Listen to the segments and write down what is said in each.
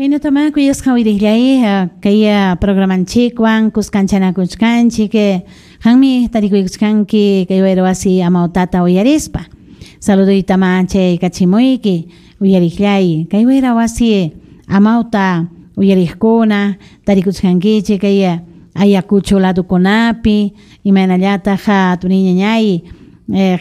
Kaynatamá kuyasqa uyariqllay kay programanchikwan kuskanchanakuchkanchik qanmi tarikuykuchkanki kay wayra wasi amawtata uyarispa. Saluduytamá chayaykachimuyki uyariqllay kay wayra wasi amawta uyariqkuna tarikuchkankichik kay Ayacucho ladukunapi imaynallataq turiñañay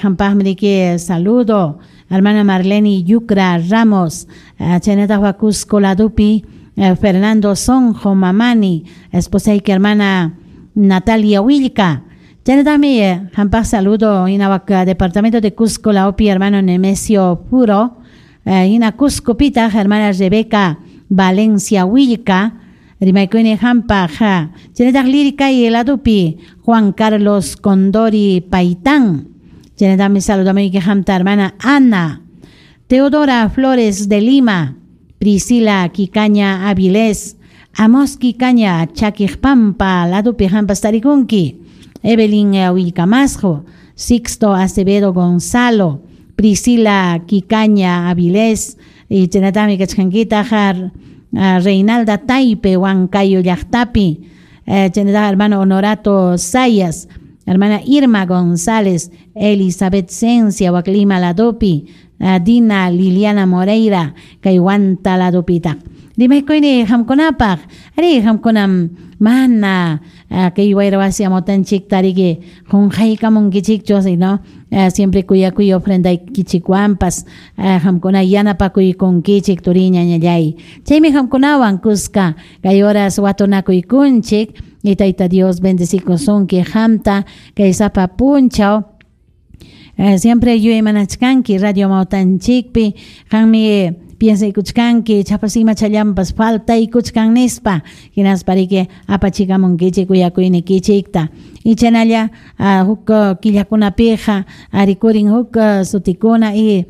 qampaqmi riki saludo hermana Marlene Yucra Ramos chaynataq Cusco ladupi Fernando Sonjo Mamani esposayki hermana Natalia Huillca chaynataqmi qampaq saludo hina wak departamento de Cusco lawpi hermano Nemesio Puro hina Cuscopitaq hermana Rebeca Valencia Huillca rimaykuyni qampaq chaynataq Liricay ladupi Juan Carlos Condori Paitán chaynataqmi saludamuyki qamta hermana Ana Teodora Flores de Lima Priscila Quicaña Avilés Amos Quicaña Chaquiqpampa ladupi qampas tarikunki Evelyn Huillcamasjo Sixto Acevedo Gonzalo Priscila Quicaña Avilés y chaynataqmi kachkankitaq Reinalda Taipe Huancayo llaqtapi chaynataq hermano Honorato Sayas hermana Irma González Elizabeth Cencia wak Lima ladupi Dina Liliana Moreira kay Huanta ladupitaq rimaykuyni qamkunapaq arí qamkunam mana kay wayra wasi amawtanchikta riki qunqaykamunkichikchu sino siempre kuyakuy ofrendaykichikwanpas qamkuna yanapakuykunkichik turiñañallay chaymi qamkunawan kuska kay horas watunakuykunchik y Tayta Dios bendecikusunki qamta kay sapa punchaw siempre yuyaymanachkanki radio amawtanchikpi qanmi piensaykuchkanki chapas imachallanpas faltaykuchkan nispa hinaspa riki apachikamunkichik kuyakuynikichikta y chaynalla huk killakunapiqa rikurin huk sutikuna y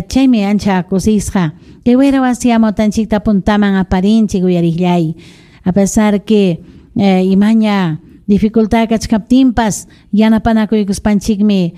chaymi ancha kusisqa kay wayra wasi amawtanchikta puntaman aparinchik uyariqllay a pesar que imaña dificultad kachkaptinpas yanapanakuykuspanchikmi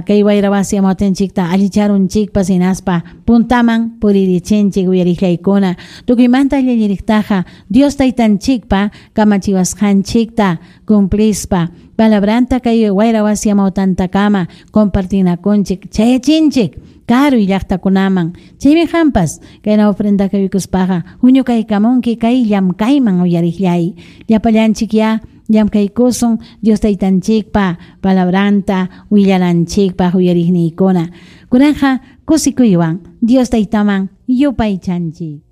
kay wayra wasi amawtanchikta allicharunchikpas hinaspa puntaman puririchinchik uyariqllaykuna tukuymanta allilliriqtaqa Dios taytanchikpa kamachiwasqanchikta cumplispa palabranta kay wayra wasi amawtantakama compartinakunchik chayachinchik karuy llaqtakunaman chaymi qampas kayna ofrenda kaykuspaqa huñukaykamunki kay llamkayman uyariqllay llapallanchik ya llamkaykusun Dios taytanchikpa palabranta willananchikpaq uyariqniykuna kunanqa kusikuywan Dios taytaman yupaychanchik.